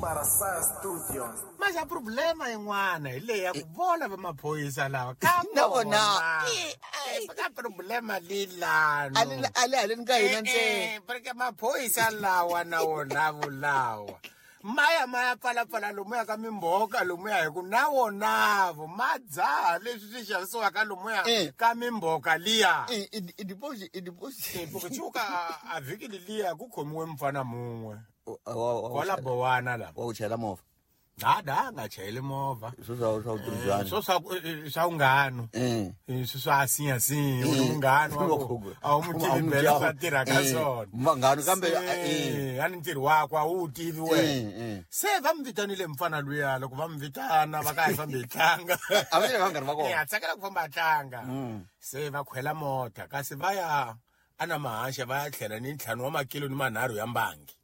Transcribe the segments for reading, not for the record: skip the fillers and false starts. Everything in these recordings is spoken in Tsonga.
Barasa Studio. Mas a problema yin'wana hi leyi ya ku vona va maphorisa lava ka Na vona. Ka problema lilano A le- a le haleni ka hina ntsena. Porque maphorisa lawa na wona vulawa maya maya pfalapfala lomuya ka mimbhoka lomuya hi ku na wonavo ma dzaha leswi swi xavisiwaka lomuya ka mimbhoka liya. I deposit i deposit. Porque tshuka a vhiki leliya ku khomiwe mfana mun'we kwala Bowana la. Wa ku chayela movha. Dada a nga chayeli movha. Swo swa vutirhisani. Swo swa swa vunghano. Swi swa sinya sinya u munghano wa ku a wu mu tivi bela swa tirha ka swona. Vanghano kambe a ni ntirho wakwe a wu tivi wena. Se va mi vitanile mfana luya loko va mi vitana va ka hi fambi hi tlanga. A va vanghana va kona. A tsakela ku famba a tlanga. Se va khwela mota kasi va ya ana mahaxa va ya tlhela ni 5 wa makilo ni 3 ya mbangi.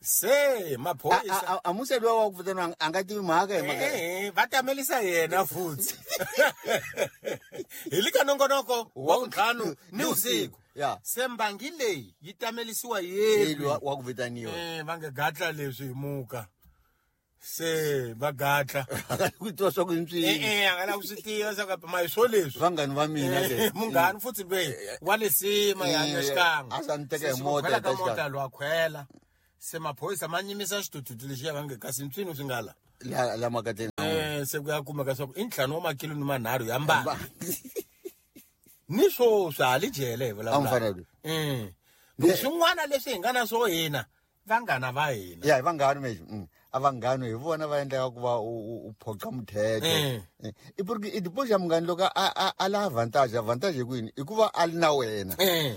Se maphorisa a musa lowa wa ku vitana a nga tivi mhaka hi mhaka. Va tamelisa yena futhi. Hi le ka nongonoko wa vuntlhanu ni usiku. Se mbangi leyi yi tamelisiwa yena wa ku vitaniwa. Va nge gatla leswi hi muka. Se va gatla. Ku twa swa ku ntswini. A nga la ku swi tiva swa ku ma hi swo leswi. Vanghani va mina ke. Munghani futhi loyi wa le sima ya xikan'we. A sa ni teka hi mota ka mota lwa khwela. Se maphorisa ma nyimisa xithuthuthu lexiya va nge kasi ntswini swi nga la. La makateni. Se ku ya kumeka swa ku i 5 wa makilo ni 3 ya mbangi. Ni swo swa le jele hi vulavula. Swin'wana leswi hi nga na swo hina vanghana va hina. Ya hi vanghana mexi. A vanghano hi vona va endlaka ku va u phoqa muthetho. I porque i deposit ya munghana loko a la advantage, advantage hi kwini? I ku va a li na wena.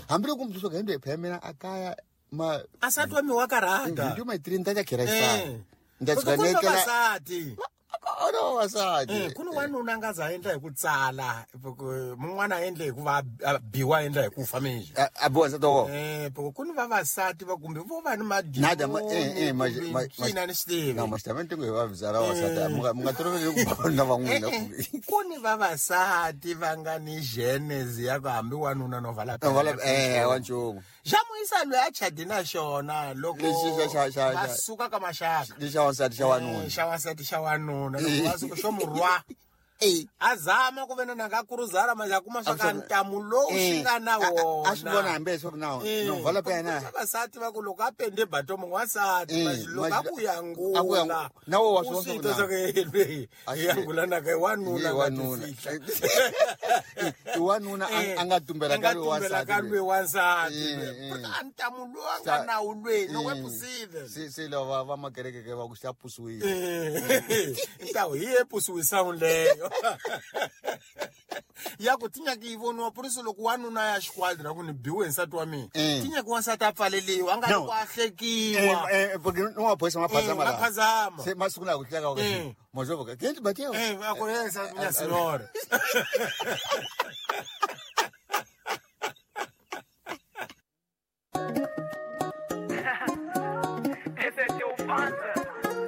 Hambiloko muthu swo hembe phela mina a kaya ma a sa twa mi wa karata. Ndi ma 3 nta khera xifana. Nda tsika nekela. Oro wasati. Ku ni wanuna nga za endla hi ku tsala, mun'wana endle hi ku va biwa endla hi ku fa minje. A biwa nsati wa kona. Ku ni vavasati va kumbe vo va ni madimoni. Swina ni swi tivi. Na maxitamente ngo hi va vizara wasati, mi nga toloveli ku vona van'wina. Ku ni vavasati va nga ni genes ya ku hambi wanuna no vala. Wa nchumu. Xa muyisa loyi a chadi na xona loko va suka ka maxaka. Lexi xa wansati xa wanuna. Xa wansati xa wanuna loko va suka xo murwa. A zama ku vena na nga kuruzara manje a kuma swa ka ntamu lowu xi nga na wona. A swi vona hambi leswaku na no vala pa yena. Vavasati va ku loko a pende batomo n'wansati manje loko a ku yangula. Na wo wa swi vona swa ku yangula na ka wanuna nga tifihla. I wanuna a nga tumbela ka loyi wansati. Ka loyi wansati. A ntamu lowu a nga na wu lweni no wepusive. Se lava va makereke ke va ku xa pusiwile. Ntawu hi ye pusiwisa leyo. Ya ku tinyaki yi voniwa purisi loko wanuna ya xikwadi ra ku ni biwe nsati wa mina. Tinyaki wansati a pfaleliwa a nga ri ku a hlekiwa. Porque no maphorisa ma phazama la. Ma phazama. Se masiku lawa ku hleka ku mozvo ka kenzi bateo. A ku yesa nya senhora.